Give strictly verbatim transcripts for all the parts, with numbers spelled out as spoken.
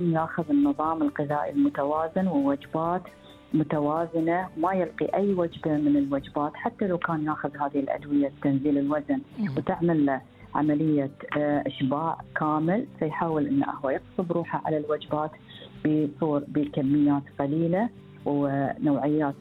ياخذ النظام الغذائي المتوازن ووجبات متوازنة، ما يلقي أي وجبة من الوجبات حتى لو كان ياخذ هذه الأدوية تنزيل الوزن وتعمل له عملية إشباع كامل، فيحاول أنه هو يغصب روحه على الوجبات بصور بكميات قليلة ونوعيات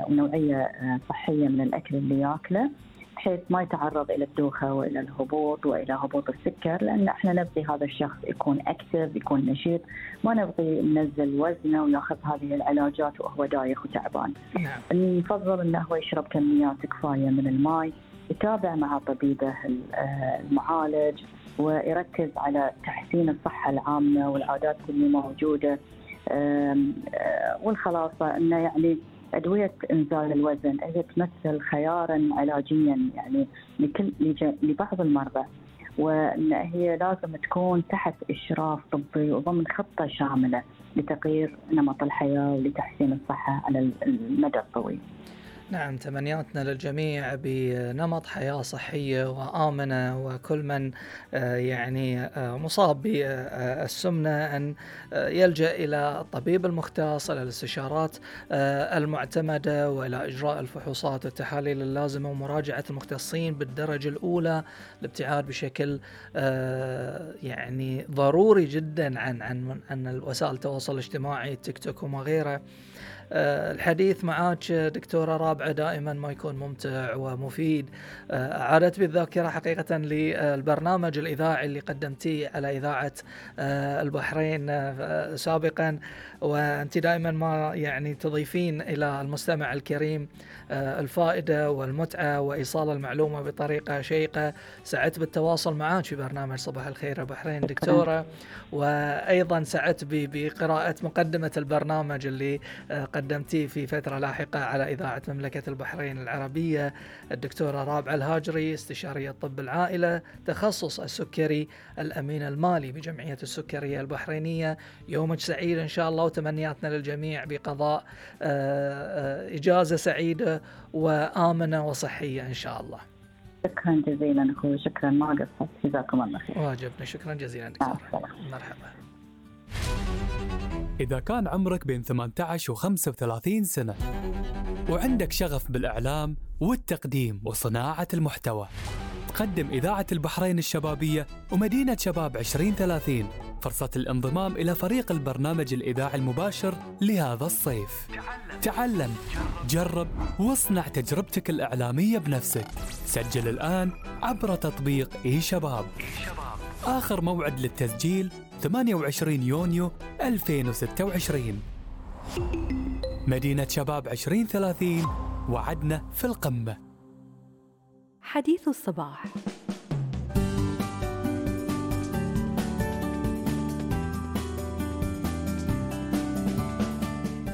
ونوعية صحية من الأكل اللي يأكله، بحيث ما يتعرض إلى الدوخة وإلى الهبوط وإلى هبوط السكر، لأن إحنا نبغي هذا الشخص يكون أكتف، يكون نشيط، ما نبغي ننزل وزنه ويأخذ هذه العلاجات وهو دايخ وتعبان. نعم. نفضل أنه هو يشرب كميات كفاية من الماء، يتابع مع طبيبه المعالج، ويركز على تحسين الصحة العامة والعادات اللي موجودة، والخلاصة أنه يعني أدوية إنزال الوزن هي تمثل خياراً علاجياً يعني لكل لبعض المرضى، وأن هي لازم تكون تحت إشراف طبي وضمن خطة شاملة لتغيير نمط الحياة ولتحسين الصحة على المدى الطويل. نعم، تمنياتنا للجميع بنمط حياة صحية وآمنة، وكل من يعني مصاب بالسمنة أن يلجأ إلى الطبيب المختص، إلى الاستشارات المعتمدة، وإلى إجراء الفحوصات والتحاليل اللازمة ومراجعة المختصين بالدرجة الأولى، الابتعاد بشكل يعني ضروري جدا عن عن عن وسائل التواصل الاجتماعي، التيك توك وما غيره. الحديث معك دكتورة رابعة دائما ما يكون ممتع ومفيد. أعادت بالذاكرة حقيقة للبرنامج الإذاعي اللي قدمتيه على إذاعة البحرين سابقا، وأنت دائما ما يعني تضيفين إلى المستمع الكريم الفائدة والمتعة وإيصال المعلومة بطريقة شيقة. سعدت بالتواصل معك في برنامج صباح الخير يا بحرين دكتورة، وأيضا سعدت بقراءة مقدمة البرنامج اللي قدمتيه في فترة لاحقة على إذاعة مملكة البحرين العربية. الدكتورة رابعة الهاجري، استشارية طب العائلة، تخصص السكري، الأمين المالي بجمعية السكرية البحرينية. يومك سعيد إن شاء الله، وتمنياتنا للجميع بقضاء إجازة سعيدة وآمنة وصحية إن شاء الله. شكرا جزيلا أخوي، شكرا ما قصرت، جزاكم الله خير. واجبنا، شكرا جزيلا دكتور. مرحبا. إذا كان عمرك بين ثمانية عشر وخمسة وثلاثين سنة وعندك شغف بالإعلام والتقديم وصناعة المحتوى، تقدم إذاعة البحرين الشبابية ومدينة شباب عشرين ثلاثين فرصة الانضمام إلى فريق البرنامج الإذاعي المباشر لهذا الصيف. تعلم، جرب، واصنع تجربتك الإعلامية بنفسك. سجل الآن عبر تطبيق إي شباب. آخر موعد للتسجيل ثمانية وعشرين يونيو ألفين وستة وعشرين. مدينة شباب عشرين ثلاثين، وعدنا في القمة. حديث الصباح.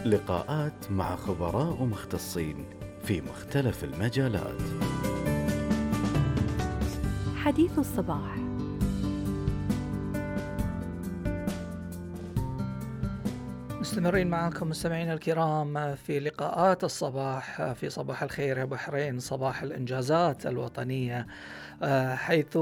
لقاءات مع خبراء ومختصين في مختلف المجالات. حديث الصباح. مستمرين معكم مستمعين الكرام في لقاءات الصباح في صباح الخير يا بحرين، صباح الإنجازات الوطنية، حيث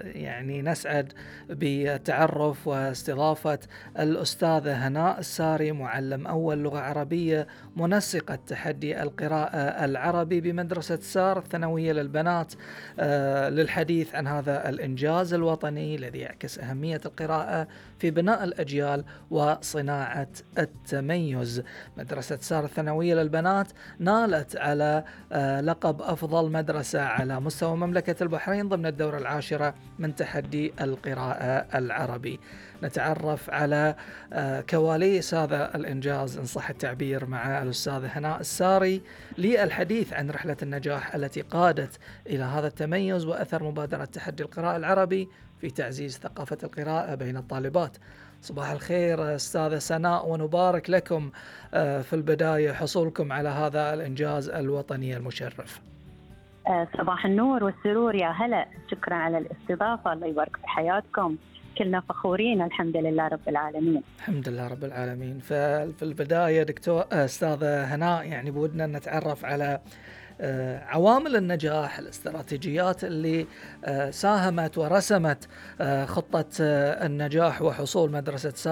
يعني نسعد بالتعرف واستضافة الأستاذة هناء الساري، معلم أول لغة عربية، منسقة تحدي القراءة العربي بمدرسة سار الثانوية للبنات، للحديث عن هذا الإنجاز الوطني الذي يعكس أهمية القراءة في بناء الأجيال وصناعة التميز. مدرسة سار الثانوية للبنات نالت على لقب أفضل مدرسة على مستوى مملكة البحرين ضمن الدورة العاشرة من تحدي القراءة العربي. نتعرف على كواليس هذا الإنجاز إن صح التعبير مع الأستاذة هناء الساري للحديث عن رحلة النجاح التي قادت إلى هذا التميز وأثر مبادرة تحدي القراءة العربي في تعزيز ثقافة القراءة بين الطالبات. صباح الخير أستاذة سناء، ونبارك لكم في البداية حصولكم على هذا الإنجاز الوطني المشرف. صباح النور والسرور، يا هلا، شكرا على الاستضافة، الله يبارك في حياتكم، كلنا فخورين الحمد لله رب العالمين. الحمد لله رب العالمين. ففي البداية دكتور أستاذة هناء، يعني بودنا نتعرف على عوامل النجاح، الاستراتيجيات اللي ساهمت ورسمت خطة النجاح وحصول مدرسة سار